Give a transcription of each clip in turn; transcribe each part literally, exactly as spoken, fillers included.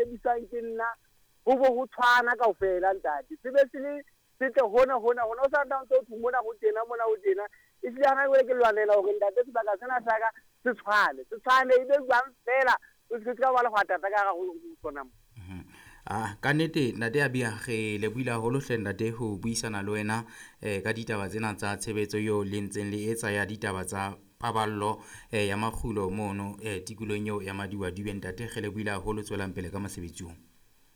sebediswang ke nna ho bo ho tshwana kaofela ntate. Se be se le setle hona hona hona o sa nna ntse o thwe mona ho tjena mona ho tjena. Ehlile hana jwale ke lwanela hore ntate sebaka sena sa ka se tshwane, se tshwane e be jwang feela o se ka ba le hwatata ka hara ho sona mo. Ah, ka nnete ntate Abia re lebohile haholo hle ntate ho buisana le wena eh, ka ditaba tsena tsa tshebetso eo le ntseng le etsa ya ditaba tsa paballo eh, ya makgulo mono eh, tikolong eo ya Madiwadube. Ntate re lebohile haholo, tswelang pele ka mosebetsi oo.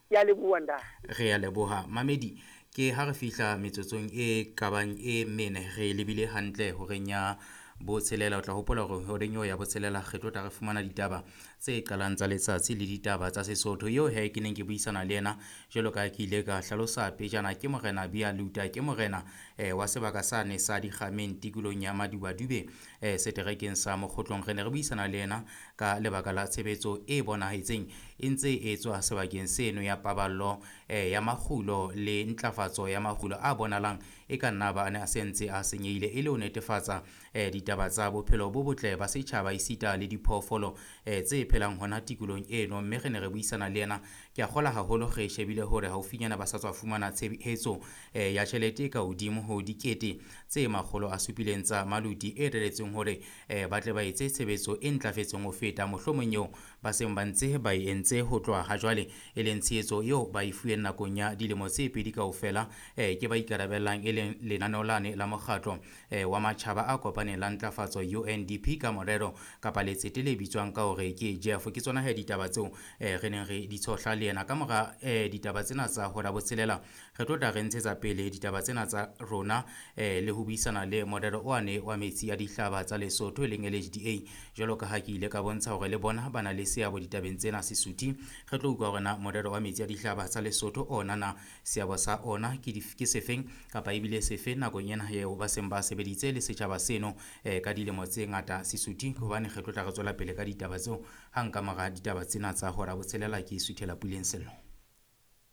Ke a leboha ntate. Re a leboha mamedi. Ke ha re fihla metsotsong e kabang e mene re lebile hantle horeng ya botshelela. O tla hopola hore horeng eo ya botshelela re tlo tla re fumana ditaba tse qalang tsa letsatsi le ditaba tsa Sesotho. Eo he ke neng ke buisana le yena jwalo ka ke ile ka hlalosa pejana ke morena Bia Luta, ke morena eh, wa sebaka sane sa Dikgameng tikolong ya Madiwadube eh, seterekeng sa Mokgotlong. Re ne re buisana le yena ka lebaka la tshebetso e bonahetseng e ntse e etswa sebakeng seno ya paballo eh, ya makgulo le ntlafatso ya makgulo a bonalang e ka nna ba a ne a sentse a senyehile, e le ho netefatsa eh, ditaba tsa bophelo bo botle ba setjhaba esita le diphoofolo eh, tse phelang hona tikolong eno. Mme re ne re buisana le yena, ke a kgola haholo re shebile hore haufinyana ba sa tswa fumana tshehetso eh, ya tjhelete e ka hodimo ho dikete tse makgolo a supileng tsa maluti e reretsweng hore eh, ba tle ba etse tshebetso e ntlafetseng ho feta mohlomong eo ba seng ba ntse ba e entse ho tloha ha jwale, e leng tshehetso eo ba e fuweng nakong ya dilemo tse pedi kaofela eh, ke ba ikarabellang e leng lenaneo lane la mokgatlo eh, wa matjhaba a kopaneng la ntlafatso U N D P ka morero kapa letsete le bitswang ka hore ke Jeff. Ke tsona he ditaba tseo eh, re neng re di tshohla le yena. Ka mora eh, ditaba tsena tsa hora botshelela re tlo tla re ntshetsa pele ditaba tsena tsa rona eh, le ho buisana le morero one wa metsi a dihlaba tsa Lesotho e leng L H D A, jwalo ka ha ke ile ka bontsha hore le bona ba na le seabo ditabeng tsena Sesotho. Re tlo utlwa hore na morero wa metsi a dihlaba tsa Lesotho ona na seabo sa ona ke dif-, ke sefeng kapa ebile sefe nakong ena eo ba seng ba sebeditse le setjhaba seno eh, ka dilemo tse ngata Sesotho, hobane re tlo tla re tswela pele ka ditaba tseo hang ka mora ditaba tsena tsa hora botshelela. Ke suthela Puleng Sello.